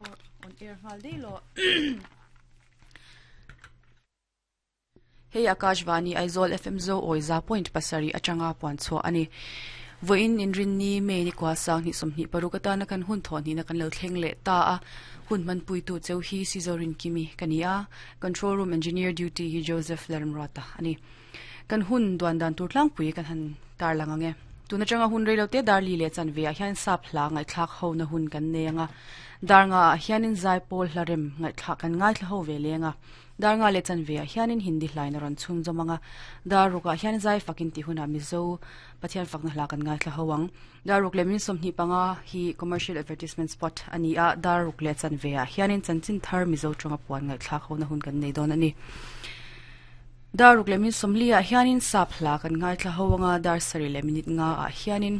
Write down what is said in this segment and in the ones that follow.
On air nghal daih lawh. Hei Akashvani Aizawl FM Zo awi 100.7 atanga puan chhuah a ni. Vawiin Inrinni May ni kua sang hnih 26 atana kan hun thawh hnihna kan lo thleng leh ta a. Hun hmanpuitu cheu hi Sizorin Kimi ka ni a. Control Room Engineer Duty hi Joseph Lalramruata a ni. Kan hun duan dan tur tlangpui kan han tarlang ang e. Tun atanga hun rei lo te dar li leh chanve ah hian sap hla ngaihthlak ho na hun kan nei ang a. Dar nga ah hianin zaipawl hla rem ngaihthlak kan ngaithla ho ve leng a. Dar nga leh chanve ah hianin Hindi hlain a rawn chhunzawm ang a. Dar ruk ah hian zai fakin tih hunah Mizo Pathian fakna hla kan ngaithla ho ang. Dar ruk leh min 25 hi commercial advertisement spot a ni a, dar ruk leh chanve ah hianin chanchin thar Mizo tawnga puan ngaihthlak ho na hun kan nei dawn a ni. Dar ruk leh min 40 ah hianin sap hla kan ngaithla ho anga dar sarih leh minute nga ah hianin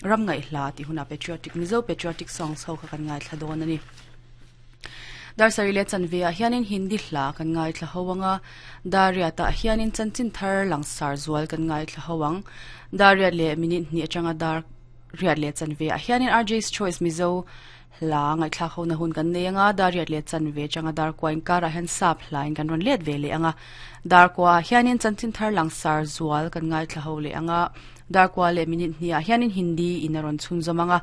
ram ngaih hla tih hunah patriotic Mizo patriotic songs ho kha kan ngaithla dawn a ni. Dar sarih leh chanve ah hianin Hindi hla kan ngaithla ho anga dar riat ah hianin chanchin thar langsar zual kan ngaithla ho ang. Dar riat leh minute hnih atanga dar riat leh chanve ah hianin RJ's Choice Mizo Hla ngaihthlak hona hun kan nei anga dar riat leh chanve atanga dar kua inkarah hian sap hlain kan rawn let ve leh anga dar kuaah hianin chanchin thar langsar zual kan ngaithla ho leh anga dar kua leh minute hniah hianin Hindi in a rawn chhunzawm anga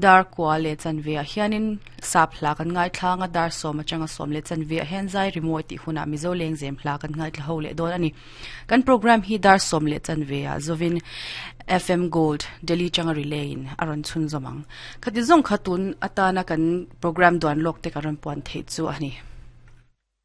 dar kua leh chanve ah hianin sap hla kan ngaithla anga dar sawm atanga sawm leh chanve ah hian zai rimawi tih hunah Mizo lengzem hla kan ngaithla ho leh dawn a ni. Kan program hi dar 10 15 ah zovin FM Gold Delhi changa relay in a rawn chhunzawm ang. Khati zawng kha tun atana kan program duan lawk te kan rawn puan theih chu a ni.